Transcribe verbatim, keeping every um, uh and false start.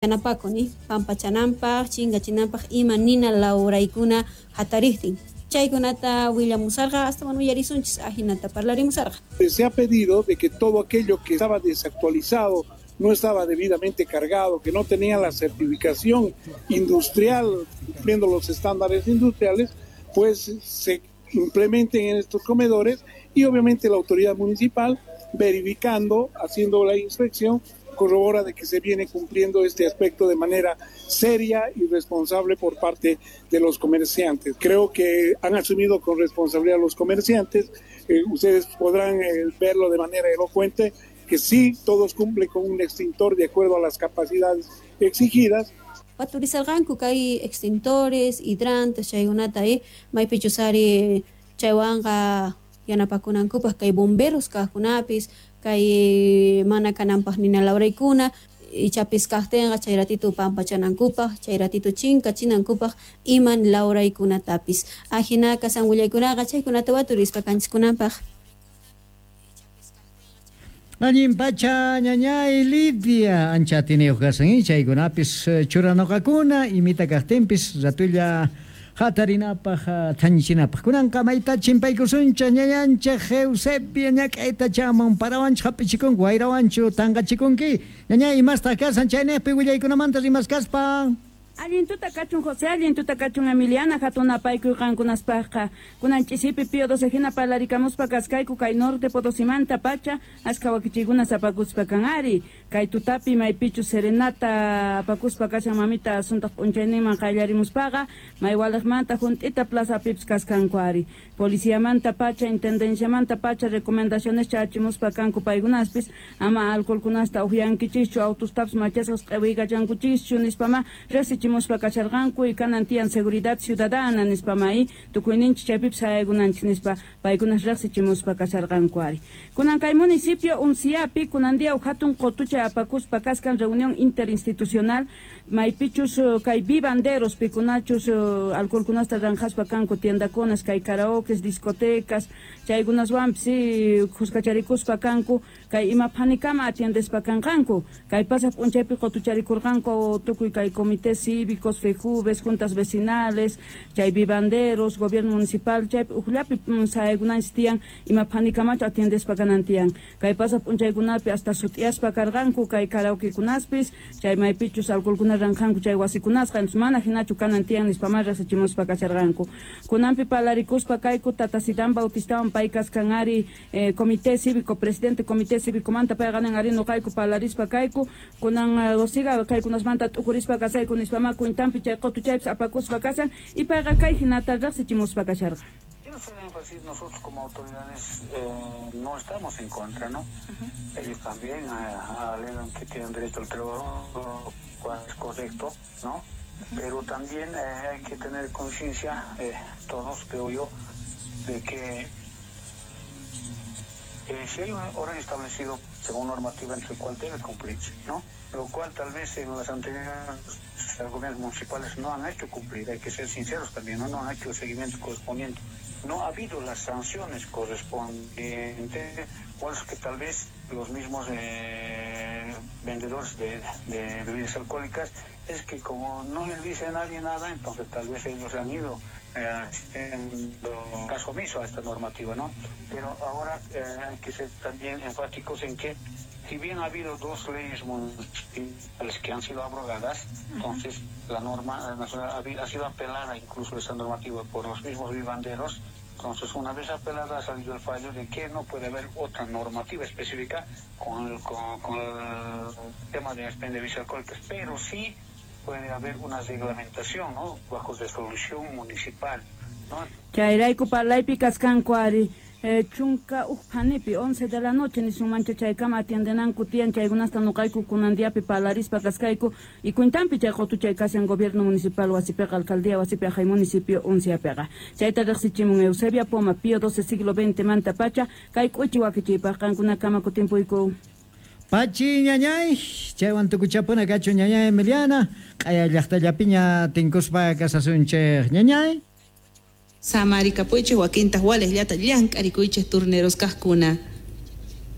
Yanapakuni pampachananpaq chinkachinanpaq ima nina lawraykuna hatariqtin chaykunata willamusarqa astawan uyarisunchis ajinata parlarimusarqa. Se ha pedido de que todo aquello que estaba desactualizado, no estaba debidamente cargado, que no tenía la certificación industrial, cumpliendo los estándares industriales, pues se implementen en estos comedores y obviamente la autoridad municipal verificando, haciendo la inspección, corrobora de que se viene cumpliendo este aspecto de manera seria y responsable por parte de los comerciantes. Creo que han asumido con responsabilidad los comerciantes, eh, ustedes podrán eh, verlo de manera elocuente, que sí, todos cumplen con un extintor de acuerdo a las capacidades exigidas. Waturisarqanku kay extintores, hidrantes, chaykunata eh, maypichus ari chaywanqa yanapakunankupaq kay bomberos kaqkunapis, kay mana kananpaq nina lawraykuna, ichapis kaqtinqa chay ratito pampachanankupaq, chay ratito chinkachinankupaq iman lawraykunatapis. Ajina kasan willaykunaqa chaykunata waturispa kanchiskunanpaq. Allin pacha ñañay Lidia ancha atiniyuq kasan chaykunapis churanoqakuna imita kaqtinpis ratulla hatarinapaq thañichinapaq kunanqa mayta chimpaykusunchik ñañanchik Eusebia ñak'ayta chaman parawanchik hap'ichikunki wayrawanchu tanqachikunki ñañay imastaq kasan chayniqpi willaykunamanta rimaskaspa. Allin tuta kachun José, allin tuta kachun Emiliana, hatunapaykuy qankunaspaqqa. Kunan ch'isipi Pío doce hina parlarikamuspa kaskayku kay norte Potosimanta pacha, ashka wakichiykuna sapakuspa kan ari. Kay tutapi maypichu serenata apakuspa kashan mamita asuntaq p'unchayninman qayllarimuspaqa, maywaliqmanta junt'ita plazapipis kaskanku ari. Policiamanta pacha, intendenciamanta pacha, recomendaciones chachimuspa kanku paykunaspis, ama alcoholkunasta uqyankichischu, autostapis machasqas q'iwiykachankuchischu nispama riqsichimuspa kasharqanku y kanan tiyan seguridad ciudadana nispama y tukuyninchik chaypipis sayaykunanchik nispa paykunas riqsichimuspa kasharqanku ari. Kunan kay municipio Unciapi kunan día hatun qotuchay apakuspa kaskan reunión interinstitucional maypichus kay vivanderos pikunachus alcoholkunasta ranjaspa kanku tiendakunas kay karaokes, discotecas chaykunaswanpis kuskacharikuspa kanku kay ima phanikama atiendespa kanqanku kay pasaq p'unchaypi qotucharikurqanku tukuy kay comités cívicos, FEJUVES, juntas vecinales, chay vivanderos, gobierno municipal, chaypi ujllapi sayaykunanchis tiyan ima phanikamachu atiendespa kanan tiyan kay pasaq p'unchaykunapi hasta sut'iyaspa karqanku kay karaokekunaspis chay maypichus alcoholkuna ranjanku chay wasikunasqa entonces mana hinachu kanan tiyan nispama riqsichimuspa kasharqanku. Kunanpi parlarikuspa kayku Tata Sidán Bautistawan pay kaskan ari eh, comité cívico, presidente comité cívico manta payqa nin ari nuqayku parlarispa kayku kunan dosiga kaykunasmanta t'ukurispa kasayku nispama cuentanpi chay qotuchaypis apakuspa kasan y payqa kay hinata riqsichimuspa kasharqa. Quiero hacer énfasis, nosotros como autoridades eh, no estamos en contra, ¿no? Uh-huh. Ellos también eh, alegan que tienen derecho al trabajo, lo cual es correcto, ¿no? Uh-huh. Pero también eh, hay que tener conciencia, eh, todos, creo yo, de que eh, si hay un horario establecido según normativa entre el cual debe cumplirse, ¿no? Lo cual tal vez en las anteriores gobiernos municipales no han hecho cumplir, hay que ser sinceros también, ¿no? No han hecho el seguimiento correspondiente. No ha habido las sanciones correspondientes, o es que tal vez los mismos eh, vendedores de, de bebidas alcohólicas, es que como no les dice a nadie nada, entonces tal vez ellos han ido eh, haciendo caso omiso a esta normativa, ¿no? Pero ahora eh, hay que ser también enfáticos en que si bien ha habido dos leyes municipales que han sido abrogadas, entonces la norma nacional ha sido apelada incluso esa normativa por los mismos vivanderos. Entonces, una vez apelada ha salido el fallo de que no puede haber otra normativa específica con el, con, con el tema de expendio de bebidas alcohólicas, pero sí puede haber una reglamentación, ¿no?, bajo resolución municipal, ¿no? Chayrayku parlaypi kaskanku ari. Eh, chunka uj phanipi once de la noche nisunmancha chaykama atiendenanku tiyan chaykunasta nuqayku kunan diapi parlarispa kaskayku y cuentanpi chay qotuchay kashan gobierno municipal wasipiqa alcaldía wasipi ajay municipio Unciapiqa chayta riqsichimun Eusebia Poma Pío doce siglo veinte manta pacha kay k'uchi wakichiypaq qankunakama kutimpuyku. Pachi ñañay, chaywan tukuchapuna kachu ñañay Emiliana, q'aya llaqtallapiña tinkuspa kasasunchik ñañay. Samarikapuychik wakintaq waliqllata llank'arikuychik turneros kaqkuna.